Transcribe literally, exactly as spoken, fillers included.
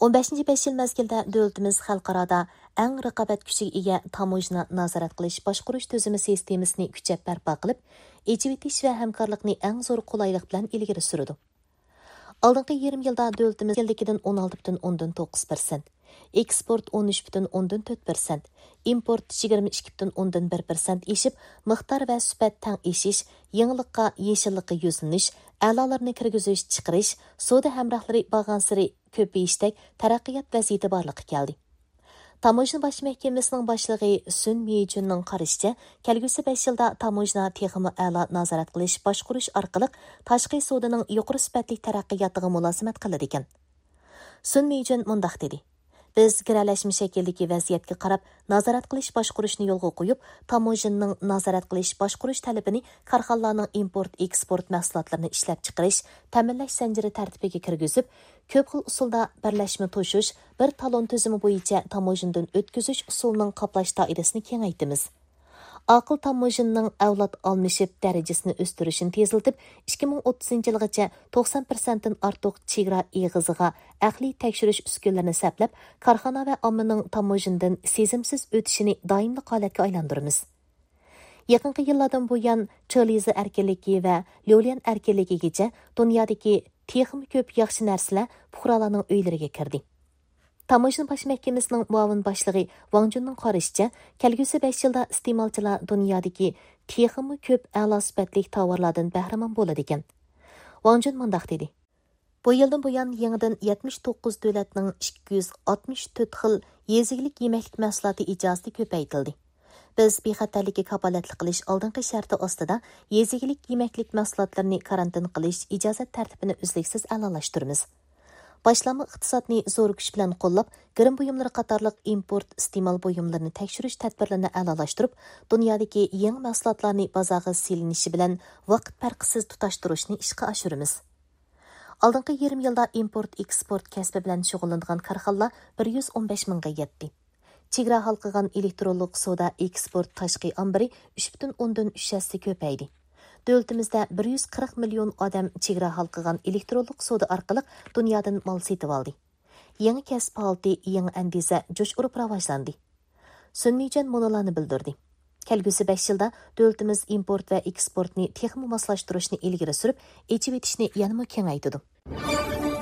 ئون بەشىنچى بەش يىل مەزگىلدە دۆلىتىمىز خەلقئارادا ئەڭ رىقابەت كۈچىگە ئىگە تاموژنا نازارەت قىلىش باشقۇرۇش تۈزۈمى سىستېمىسىنى كۈچەپ بەرپا قىلىپ، ئېچىۋېتىش ۋە ھەمكارلىقنى ئەڭ زور قولايلىق بىلەن ئىلگىرى سۈرىدۇ. ئالدىنقى يېرىم يىلدا دۆلىتىمىز يىلدىكىدىن ئون ئالتە پۈتۈن ئوندىن توققۇز پىرسەنت، ئېكسپورت ئون ئۈچ پۈتۈن ئوندىن تۆت پىرسەنت، ئىمپورت يىگىرمە ئىككى پۈتۈن ئوندىن بىر پىرسەنت ئېشىپ، مىقدار ۋە سۈپەت تەڭ ئېشىش، يېڭىلىققا، يېشىللىققا يۈزلىنىش، ئەلالىرىنى كىرگۈزۈش، چىقىرىش، سودا ھەمراھلىرى بارغانسېرى كۆپىيىشتەك تەرەققىيات ۋەزىيىتى بارلىققا كەلدى. تاموژنا باش مەھكىمىسىنىڭ باشلىقى سۈن مېيجۈننىڭ قارىشىچە، كەلگۈسى بەش يىلدا تاموژنا تېخىمۇ ئەلا نازارەت قىلىش، باشقۇرۇش ئارقىلىق تاشقى سودىنىڭ يۇقىرى سۈپەتلىك تەرەققىياتىغا مۇلازىمەت قىلىدىكەن. سۈن مېيجۈن مۇنداق دېدى: بىز گىرەلەشمە شەكىلدىكى ۋەزىيەتكە قاراپ نازارەت قىلىش باشقۇرۇشنى يولغا قويۇپ، تاموژنىنىڭ نازارەت قىلىش باشقۇرۇش تەلىپىنى كارخانىلارنىڭ ئىمپورت ئېكسپورت مەھسۇلاتلىرىنى ئىشلەپچىقىرىش، تەمىنلەش زەنجىرى تەرتىپىگە كىرگۈزۈپ، كۆپ خىل ئۇسۇلدا بىرلەشمە توشۇش، بىر تالون تۈزۈمى بويىچە تاموژنىدىن ئۆتكۈزۈش ئۇسۇلىنىڭ قاپلاش دائىرىسىنى كېڭەيتىمىز. ئاقىل تاموژنىنىڭ ئەۋلاد ئالمىشىپ دەرىجىسىنى ئۆستۈرۈشىنى تېزلىتىپ، ئىككى مىڭ ئوتتۇزىنچى يىلغىچە توقسان پىرسەنتتىن ئارتۇق چېگرا ئېغىزىغا ئەقلىي تەكشۈرۈش ئۈسكۈنىلىرىنى سەپلەپ، كارخانا ۋە ئاممىنىڭ تاموژنىدىن سېزىمسىز ئۆتۈشىنى دائىملىق ھالەتكە ئايلاندۇرىمىز. يېقىنقى يىللاردىن بۇيان، چېلىزا ئەركىنلىكى ۋە ليۇليەن ئەركىنلىكىگىچە دۇنيادىكى تېخىمۇ كۆپ ياخشى نەرسىلەر پۇقرالارنىڭ ئۆيلىرىگە كىردى. تاموژنا باش مەھكىمىسىنىڭ مۇئاۋىن باشلىقى ۋاڭ جۈننىڭ قارىشىچە، كەلگۈسى بەش يىلدا ئىستېمالچىلار دۇنيادىكى تېخىمۇ كۆپ ئەلا سۈپەتلىك تاۋارلاردىن بەھرىمەن بولىدىكەن. ۋاڭ جۈن مۇنداق دېدى: بۇ يىلدىن بۇيان، يېڭىدىن يەتمىش توققۇز دۆلەتنىڭ ئىككى يۈز ئاتمىش تۆت خىل يېزا ئىگىلىك يېمەكلىك مەھسۇلاتى ئىجازىتى كۆپەيتىلدى. بىز بىخەتەرلىككە كاپالەتلىك قىلىش ئالدىنقى شەرتى ئاستىدا يېزا ئىگىلىك يېمەكلىك مەھسۇلاتلىرىنى كارانتىن قىلىش ئىجازەت تەرتىپىنى ئۈزلۈكسىز ئەلالاشتۇرىمىز. باشلانما ئىقتىسادنى زور كۈچ بىلەن قوللاپ، گىرىم بۇيۇملىرى قاتارلىق ئىمپورت ئىستېمال بۇيۇملىرىنى تەكشۈرۈش تەدبىرلىرىنى ئەلالاشتۇرۇپ، دۇنيادىكى يېڭى مەھسۇلاتلارنى بازارغا سېلىنىشى بىلەن ۋاقىت پەرقىسىز تۇتاشتۇرۇشنى ئىشقا ئاشۇرىمىز. ئالدىنقى يېرىم يىلدا ئىمپورت ئېكسپورت كەسپى بىلەن شۇغۇللىنىدىغان كارخانىلار بىر يۈز ئون بەش مىڭغا يەتتى. چېگرا ھالقىغان ئېلېكترونلۇق سودا ئېكسپورت تاشقى ئامبىرى ئۈچ پۈتۈن ئوندىن ئۈچ ھەسسە كۆپەيدى. دۆلىتىمىزدە بىر يۈز قىرىق مىليون ئادەم چېگرا ھالقىغان ئېلېكترونلۇق سودا ئارقىلىق دۇنيادىن مال سېتىۋالدى. يېڭى كەسىپ ھالىتى، يېڭى ئەندىزە جۇش ئۇرۇپ راۋاجلاندى. سۈن مېيجۈەن مۇنۇلارنى بىلدۈردى: كەلگۈسى بەش يىلدا دۆلىتىمىز ئىمپورت ۋە ئېكسپورتنى تېخىمۇ ماسلاشتۇرۇشنى ئىلگىرى سۈرۈپ، ئېچىۋېتىشنى يەنىمۇ كېڭەيتىدۇ.